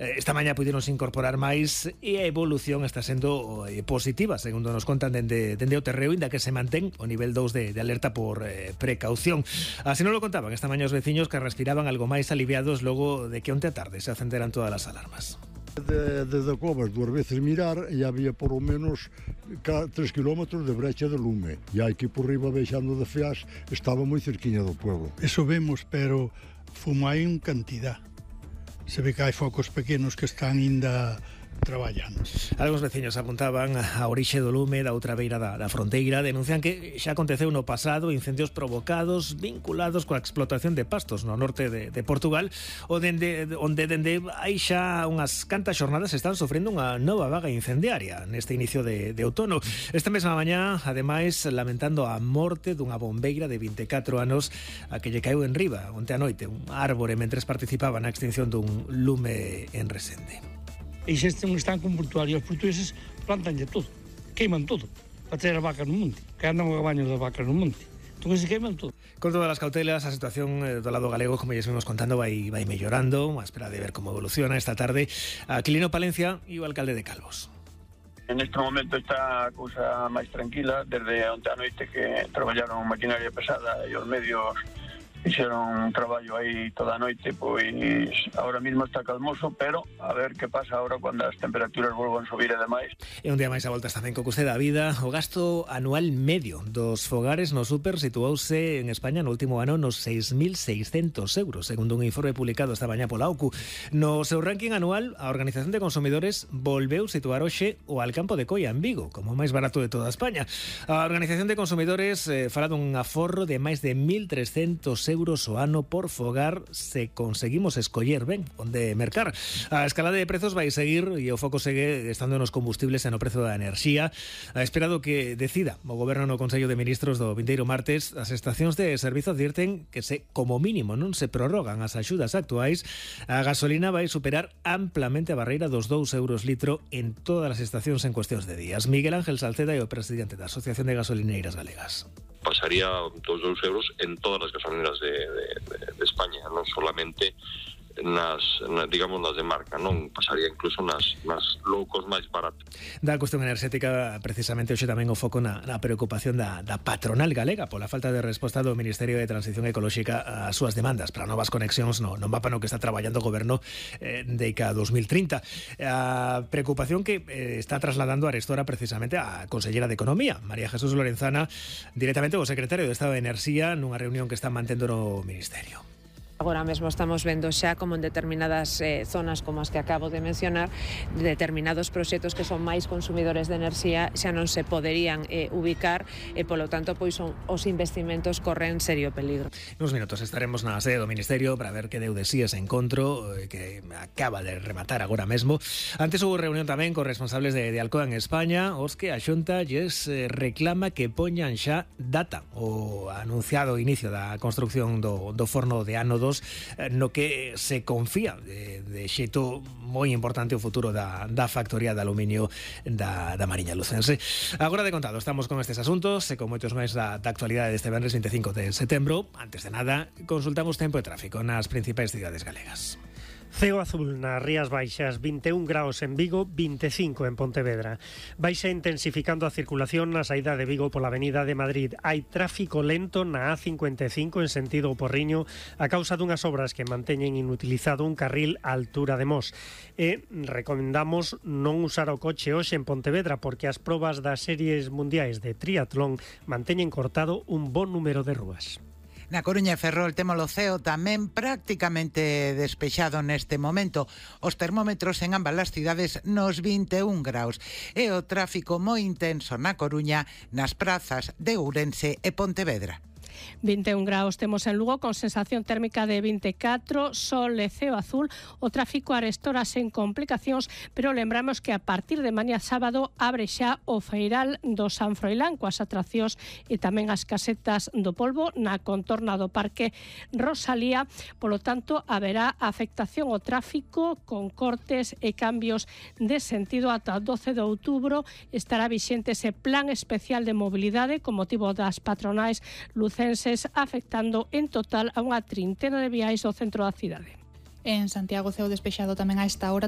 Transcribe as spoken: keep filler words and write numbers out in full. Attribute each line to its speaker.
Speaker 1: Esta mañá puideronse incorporar máis e a evolución está sendo eh, positiva, segundo nos contan dende, dende o terreo, inda que se mantén o nivel dous de, de alerta por eh, precaución. Así non lo contaban esta mañá os veciños, que respiraban algo máis aliviados logo de que onte a tarde se acenderan todas as alarmas.
Speaker 2: De, desde Covas, dúas veces mirar, e había por o menos tres kilómetros de brecha de lume, e hai que ir por riba vexando de Feas, estaba moi cerquiña do pueblo.
Speaker 3: Eso vemos, pero fumo hai en cantidad. Se ve que hai focos pequenos que están ainda traballando.
Speaker 1: Algúns veciños apuntaban a orixe do lume da outra beira da, da fronteira, denuncian que xa aconteceu no pasado incendios provocados vinculados coa explotación de pastos no norte de, de Portugal, onde, onde dende hai xa unhas cantas xornadas están sofrendo unha nova vaga incendiaria neste inicio de, de outono. Esta mesma mañá, ademais, lamentando a morte dunha bombeira de vinte e catro anos a que lle caeu en riba onte a noite un árbore mentres participaba na extinción dun lume en Resende.
Speaker 4: E xa están con portuario, os portugueses plantanlle todo, queiman todo, para ter as vacas no monte, que andan os baños das vacas no monte. Entón se queiman todo.
Speaker 1: Con todas as cautelas, a situación do lado galego, como ya estuvimos contando, vai, vai mellorando, a espera de ver como evoluciona esta tarde. Aquilino Palencia e o alcalde de Calvos.
Speaker 5: En este momento está a cousa máis tranquila, desde onte a noite que traballaron maquinaria pesada e os medios fixeron un traballo aí toda a noite, pois agora mesmo está calmoso, pero a ver que pasa agora cando as temperaturas volvan subir e demais.
Speaker 1: E un día máis a voltas tamén co custe da vida. O gasto anual medio dos fogares no súper situouse en España no último ano nos seis mil seiscentos euros, segundo un informe publicado esta mañá pola O C U. No seu ranking anual, a Organización de Consumidores volveu situar hoxe o Alcampo de Coia en Vigo como o máis barato de toda España. A Organización de Consumidores eh, fala dun aforro de máis de mil trescentos euros o ano por fogar se conseguimos escoller ben onde mercar. A escalada de prezos vai seguir e o foco segue estando nos combustibles e no prezo da enerxía. A espera do que decida o Goberno no Consello de Ministros do vindeiro martes, as estacións de servizo advirten que se, como mínimo, non se prorrogan as axudas actuais, a gasolina vai superar amplamente a barreira dos dous euros litro en todas as estacións en cuestións de días. Miguel Ángel Salceda é o presidente da Asociación de Gasolineiras Galegas.
Speaker 6: Pasaría dos dous euros en todas as gasolineras de, de, de, de España, non solamente nas, na, digamos, nas de marca, non pasaría incluso nas, nas loucos máis baratos.
Speaker 1: Da cuestión enerxética, precisamente hoxe tamén o foco na, na preocupación da, da patronal galega pola falta de resposta do Ministerio de Transición Ecolóxica ás súas demandas para novas conexións no, no mapa no que está traballando o Goberno eh, de ca dos mil trinta. A preocupación que eh, está trasladando a Arestora precisamente a Consellera de Economía, María Jesús Lorenzana, directamente o secretario de Estado de Enerxía nunha reunión que está mantendo no Ministerio.
Speaker 7: Agora mesmo estamos vendo xa como en determinadas eh, zonas como as que acabo de mencionar, determinados proxectos que son máis consumidores de enerxía xa non se poderían eh, ubicar e polo tanto pois son, os investimentos corren serio peligro.
Speaker 1: Nos minutos estaremos na sede do Ministerio para ver que deu de sí ese encontro eh, que acaba de rematar agora mesmo. Antes houve reunión tamén con responsables de, de Alcoa en España, os que a Xunta lles eh, reclama que poñan xa data o anunciado inicio da construcción do, do forno de ánodo no que se confía de, de xeito moi importante o futuro da, da factoría de aluminio da, da Mariña Lucense. Agora de contado, estamos con estes asuntos e con moitos máis da, da actualidade deste venres vinte e cinco de setembro. Antes de nada, consultamos tempo e tráfico nas principais cidades galegas.
Speaker 8: Ceo azul nas Rías Baixas, vinte e un graos en Vigo, vinte e cinco en Pontevedra. Baixa intensificando a circulación na saída de Vigo pola Avenida de Madrid. Hai tráfico lento na A cincuenta e cinco en sentido Porriño a causa dunhas obras que manteñen inutilizado un carril á altura de Mos. E recomendamos non usar o coche hoxe en Pontevedra porque as probas das series mundiais de triatlón manteñen cortado un bon número de rúas.
Speaker 9: Na Coruña e Ferrol temos o ceo tamén prácticamente despexado neste momento. Os termómetros en ambas as cidades nos vinte e un graus e o tráfico moi intenso na Coruña, nas prazas de Ourense e Pontevedra.
Speaker 10: vinte e un graus temos en Lugo con sensación térmica de vinte e catro, sol e ceo azul. O tráfico arestora sen complicacións, pero lembramos que a partir de mañá sábado abre xa o feiral do San Froilán coas atraccións e tamén as casetas do polvo na contorna do Parque Rosalía. Polo tanto, haberá afectación ao tráfico con cortes e cambios de sentido ata o doce de outubro. Estará vixente ese plan especial de mobilidade con motivo das patronais lucenses, afectando en total a unha trintena de viais do centro da cidade.
Speaker 11: En Santiago ceo despexado tamén a esta hora.